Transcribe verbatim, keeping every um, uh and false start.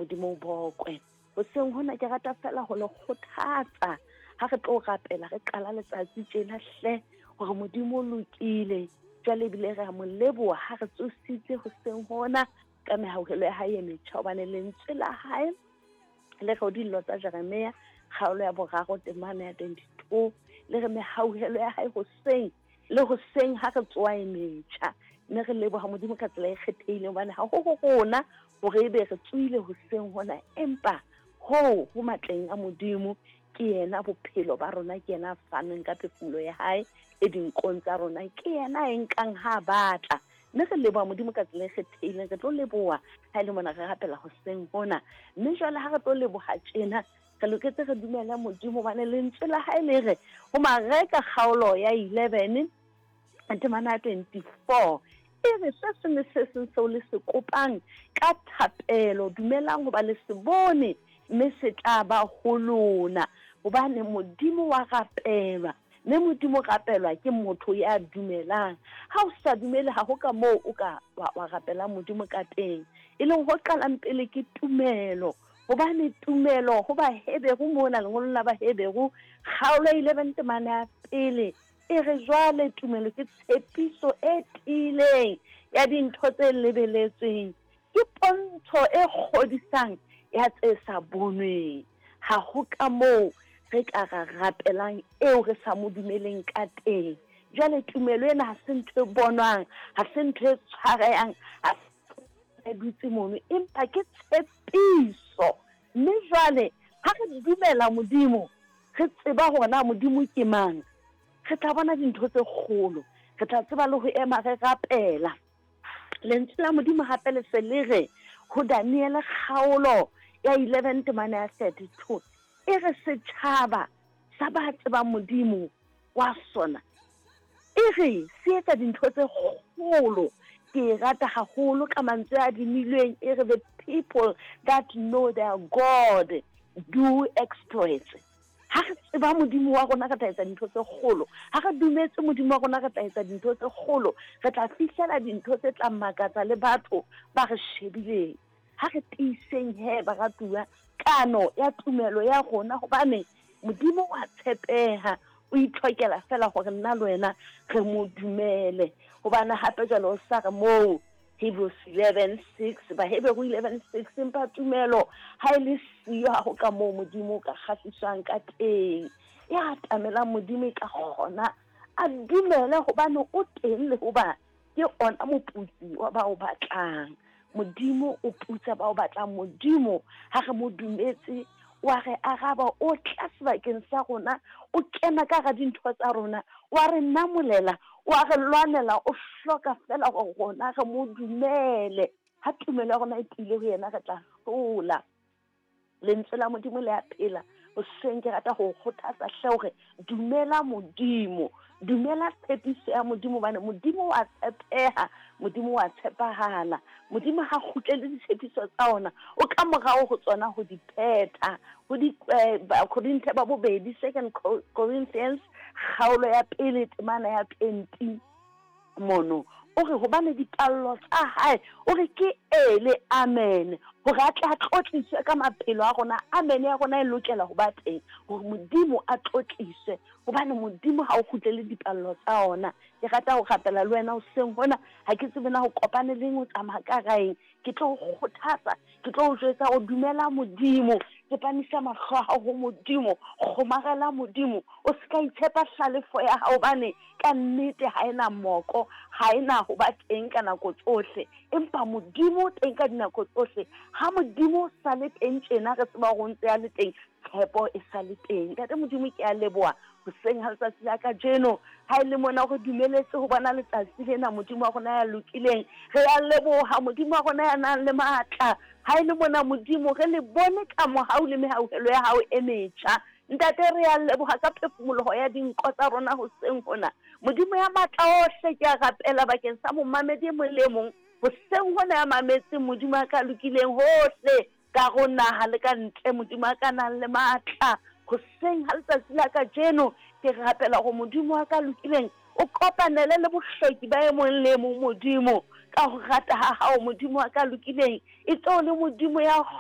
Modimo o bokwe. Hoseng hona ke rata fela ho le kgothatsa ha re tlo rapela, re qala letsatsi tjena hle, hore Modimo o lokile. Jwale ebile re a mo leboha ha re tsositse hoseng hona ka mehauhelo ya hae e metjha, hobane lentswe la hae le re dillo tsa Jeremia kgaolo ya boraro temana ya twenty-two le re mehauhelo ya hae hoseng le hoseng ha re tsoha e metjha. Mme re leboha Modimo ka tsela e kgethehileng, hobane ha ho ho rona hore ebe re tsohile hoseng hona, empa hoo ho matleng a Modimo. Ke yena bophelo ba rona, ke yena a faneng ka phefumolo ya hae e dinkong tsa rona, ke yena e nkang ha batla. Mme re leboha Modimo ka tsela e kgethehileng, re tlo leboha ha e le mona re rapela hoseng hona. Mme jwale ha re tlo leboha tjena, re loketse re dumele Modimo, hobane lentswe la hae le re ho Mareka kgaolo ya eleven temana ya twenty-four e re se seng le se seng seo le se kopang ka thapelo, dumelang hoba le se bone, mme se tla ba ho lona. Hobane Modimo wa rapelwa, mme Modimo rapelwa ke motho ya dumelang. Ha o sa dumele, ha ho ka moo o ka wa, wa rapela Modimo ka teng. E leng ho qalang pele ke tumelo, hobane tumelo ho Baheberu mona lengolong la Baheberu kgaolo ya eleven temana ya pele e re jwale tumelo ke tshepiso e tiileng ya dintho tse lebeletsweng, ke pontsho e kgodisang ya tse sa bonweng. Ha ho ka moo re ka ra rapelang eo re sa mo dumeleng ka teng. Jwale tumelo ena ha se ntho e bonwang, ha se ntho e tshwarehang, ha se dutse mono, empa ke tshepiso. Mme jwale ha re dumela Modimo, re tseba hore na Modimo ke mang, re tla bona dintho tse kgolo, re tla tseba le ho ema re rapela. Lentswe la Modimo hape le se le re ho Daniele kgaolo ya eleven temana ya thirty-two e re setjhaba sa ba tsebang Modimo wa sona, e re se etsa dintho tse kgolo. Ke e rata haholo ka mantswe a adimilweng, e re the people that know their God do exploits. Ha re tseba Modimo wa rona, re tla etsa dintho tse kgolo. Ha re dumetse Modimo wa rona, re tla etsa dintho tse kgolo. Re tla fihlela dintho tse tla makatsa le batho ba re shebileng. Ha re tiiseng he baratuwa kano ya tumelo ya rona, hobane Modimo wa tshepeha, o itlhokela fela hore nna le wena re mo dumele. Hobane hape jwale o sa re moo Hebrews eleven six, Baheberu eleven six, empa tumelo ha e le siyo, ha ho ka moo Modimo o ka kgahliswang ka teng. Ya atamelang Modimo e ka kgona a dumele hobane o teng, le hoba ke ona moputsi wa ba o batlang. Modimo o putsa ba o batlang. Modimo ha re mo dumetse, wa re araba, o tla sebakeng sa rona, o kena ka hara dintho tsa rona, wa re namolela, wa re lwanela, o hloka fela hore rona re mo dumele. Ha tumelo ya rona e tiile ho yena, re tla hlola. Lentswe la Modimo le a phela. Hoseng ke rata ho kgothatsa hle hore dumela Modimo, dumela tshepiso ya Modimo, hobane Modimo wa tshepeha, Modimo wa tshepahala. Modimo ha kgutlele ditshepiso tsa ona, o ka morao ho tsona ho di phetha. Ho di, eh, Bakorinthe ba bobedi, Second Corinthians kgaolo ya pele temana ya twenty mono, o re hobane dipallo tsa hae, o re ke e le amen, hore a tle a tlotliswe ka maphelo a rona. Amen ya rona e lokela ho ba teng hore Modimo a tlotliswe, hobane Modimo ha o kgutlele dipallo tsa ona. Ke rata ho rapela le wena hoseng hona, ha ke tsebe na ho kopane leng, o tsamaya ka raeng. Ke tlo o kgothatsa, ke tlo o jwetsa o dumela Modimo, tsepamisa mahlo a hao ho Modimo, kgomarela Modimo, o se ka itshepa hlalefo ya hao, hobane ka nnete ha ena moko, ha ena ho ba teng ka nako tsohle, empa Modimo o teng ka dinako tsohle. Ha Modimo o sa le teng tjena, re tseba hore o ntse a le teng, tshepo e sa le teng. Ntate Modimo, ke a leboha hoseng ha letsatsi la kajeno, ha e le mona re dumeletse ho bona letsatsi lena, Modimo wa rona ya lokileng. Re a leboha Modimo wa rona ya nang le matla. Ha e le mona Modimo, re le bone ka mohau le mehauhelo ya hao e metjha. Ntate, re a leboha ka phefumoloho ya dinko tsa rona hoseng hona. Modimo ya matla ohle, ke a rapela bakeng sa momamedi e mong le mong hoseng hona ya mametseng Modimo a ka lokileng hohle ka ho naha le ka ntle, Modimo a ka nang le matla. Hoseng ha letsatsi la kajeno, ke rapela hore Modimo wa ka lokileng o kopanele le bohloki ba e mong le mong, Modimo, ka ho rata ha hao, Modimo wa ka lokileng. E tlo le Modimo ya